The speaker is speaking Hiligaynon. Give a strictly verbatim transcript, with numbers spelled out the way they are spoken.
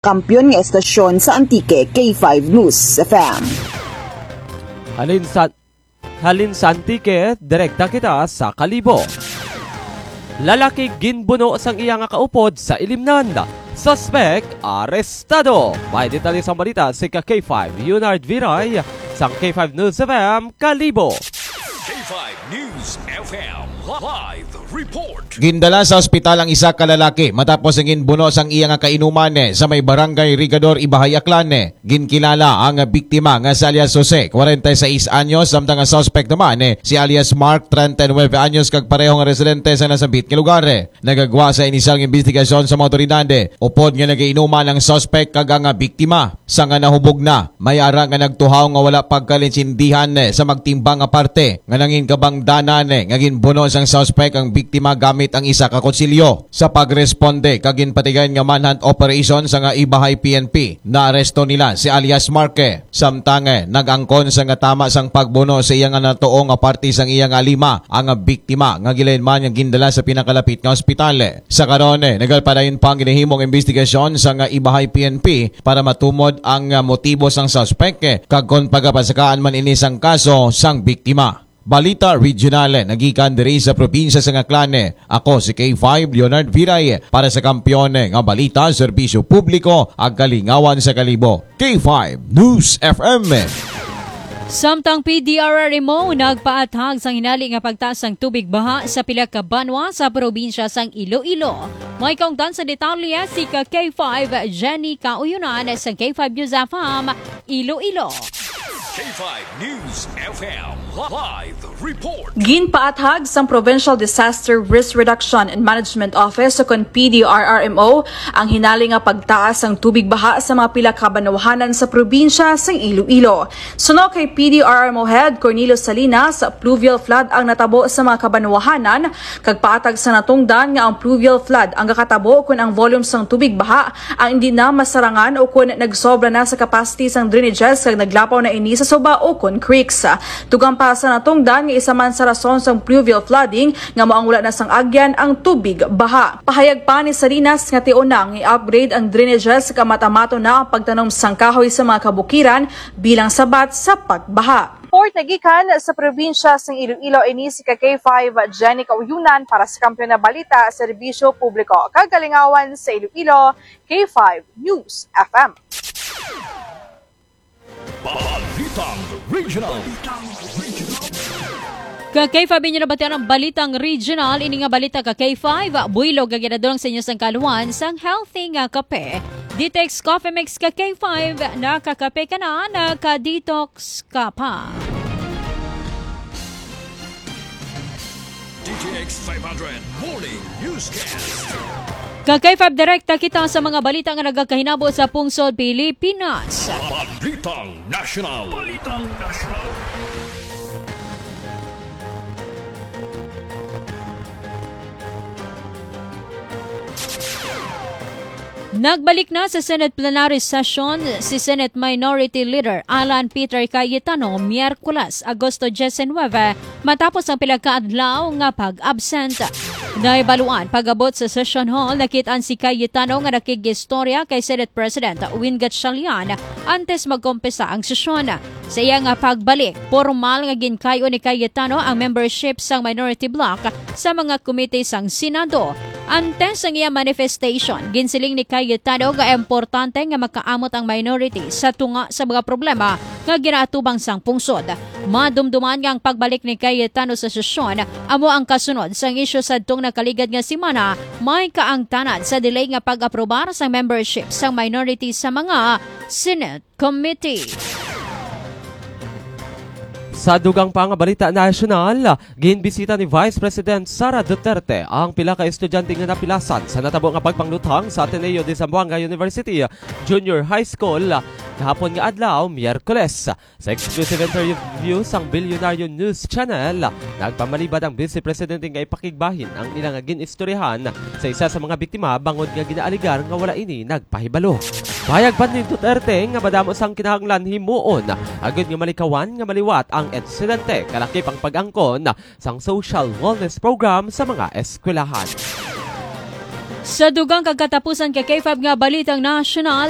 Kampiyon nga estasyon sa Antique, K five News F M. Halin sa, halin sa Antique, direkta kita sa Kalibo. Lalaki ginbuno sang iya nga kaupod sa Ilimnan. Suspek arestado. May detalye sang balita si ka K five Leonard Viray sang K five News F M Kalibo. K five News F M live report. Gindala sa ospital ang isa ka lalaki matapos ang ginbuno sang iya nga kainuman, eh, sa may barangay Rigador, Ibahay, Aklan, eh. Ginkilala ang biktima nga si alias Jose, kwarenta y seis anyos, samtang ang suspect naman, eh, si alias Mark, treinta y nueve anyos, kag pareho nga residente sa nasambit nga lugar, eh. Nagagwa sa inisyal nga imbestigasyon sa mga awtoridad, eh, upod nga nagainuman ang suspect kag ang biktima. Sa nga nahubog na, may ara nga nagtuhaw nga wala pagkaintindihan, eh, sa magtimbang nga parte nga nangin kabangdanan, eh, nga ginbuno sang suspect ang biktima gamit ang isa ka kutsilyo. Sa pagresponde kag ginpatigayon nga manhunt operation sa nga Ibahay P N P, naaresto nila si alias Mark, eh. Samtang, eh, nag-angkon sa nga tama sang pagbuno sa iya nga natuo nga parte sang iya nga lima ang biktima nga gilain man nga gindala sa pinakalapit nga ospital. Sa karon, eh, nagalpadayon pa ang ginahimong imbestigasyon sa nga Ibahay P N P para matumod ang, ah, motibo sang suspek, eh, kag kon pagapasakaan man ini sang kaso sang biktima. Balita regional, eh, nagikan diri sa probinsya sang Aklan, eh. Ako si K five Leonard Viray, eh, para sa Kampiyon, eh, nga Balita, Serbisyo Publiko, ag Kalingawan sa Kalibo. K five News F M. Samtang P D R R M O nagpaathag sang hinali nga pagtaas sang tubig baha sa pila ka banwa sa probinsya sang Iloilo. May kaungtan sa detalye si ka K five Jenny Kauyonan sang K five News F M Iloilo. K five News F M live report. Ginpaathag sang Provincial Disaster Risk Reduction and Management Office o kon P D R R M O ang hinali nga pagtaas sang tubig baha sa mga pila ka banwahanan sa probinsya sang Iloilo. Suno kay P D R R M O Head Cornelio Salinas, pluvial flood ang natabo sa mga kabanwahanan, kag paatag sa natungdan nga ang pluvial flood ang gakatabo kon ang volume sang tubig baha ang hindi na masarangan o kon nagsobra na sa capacity sang drainages kag naglapaw na ini sa suba o kon creeks. Dugang pa sa natungdan nga isa man sa rason sang pluvial flooding nga mao ang wala na sang agyan ang tubig baha. Pahayag pa ni Salinas nga tion na nga i-upgrade ang drainages kag amato-amato na ang pagtanom sang kahoy sa mga kabukiran bilang sabat sa pagbaha. Report nagikan sa probinsya sang Iloilo, ini si ka K five Jenny Kauyunan para sa Kampiyon na Balita, Serbisyo Publiko, kag Kalingawan sa Iloilo, K five News F M. Balitang Regional. Ka K five, inyo nabatian ang balitang regional. Ini nga balita ka K five, buylog nga ginadulong sa inyo sang kaluan sang healthy nga kape. Detox Coffee Mix ka K five, nakakape ka na, naka-detox ka pa. D T X five hundred Morning Newscast. Ka K five, direkta kita sa mga balita nga nagakahinabo sa pungsod Pilipinas. Balitang National. Balitang National. Nagbalik na sa Senate plenary session si Senate Minority Leader Alan Peter Cayetano, Miyerkules, Agosto diecinuebe, matapos ang pila ka adlaw nga pag-absent. Nahibaluan pag-abot sa session hall, nakit-an si Cayetano nga nakig-istorya kay Senate President Win Gatchalian antes magkumpisa ang sesyon. Sa iya nga pagbalik, pormal nga ginkay-o ni Cayetano ang membership sang minority bloc sa mga komite sang Senado. Antes sang iya manifestation, ginsiling ni Cayetano nga importante nga makaamot ang minority sa tunga sa mga problema nga ginaatubang sang pungsod. Madumduman nga ang pagbalik ni Cayetano sa sesyon amo ang kasunod sang isyu sadtong nakaligad nga semana, may kaangtanan sa delay nga pag-aprobar sang membership sang minority sa mga Senate Committee. Sa dugang pa nga balita nasyonal, ginbisita ni Vice President Sara Duterte ang pila ka estudyante nga napilasan sa natabo nga pagpangluthang sa Ateneo de Zamboanga University Junior High School kahapon nga adlaw, Miyerkules. Sa exclusive interview sang Bilyonaryo News Channel, nagpamalibad ang Vice Presidente nga ipakigbahin ang ila nga gin-istoryahan sa isa sa mga biktima bangod nga ginaaligar nga wala ini nagpahibalo. Pahayag pa ni Duterte nga madamo sang kinahanglan himuon agud nga malikawan nga maliwat ang insidente, kalakip ang pag-angkon sang social wellness program sa mga eskwelahan. Sa dugang kag katapusan ka K five nga balitang nasyonal,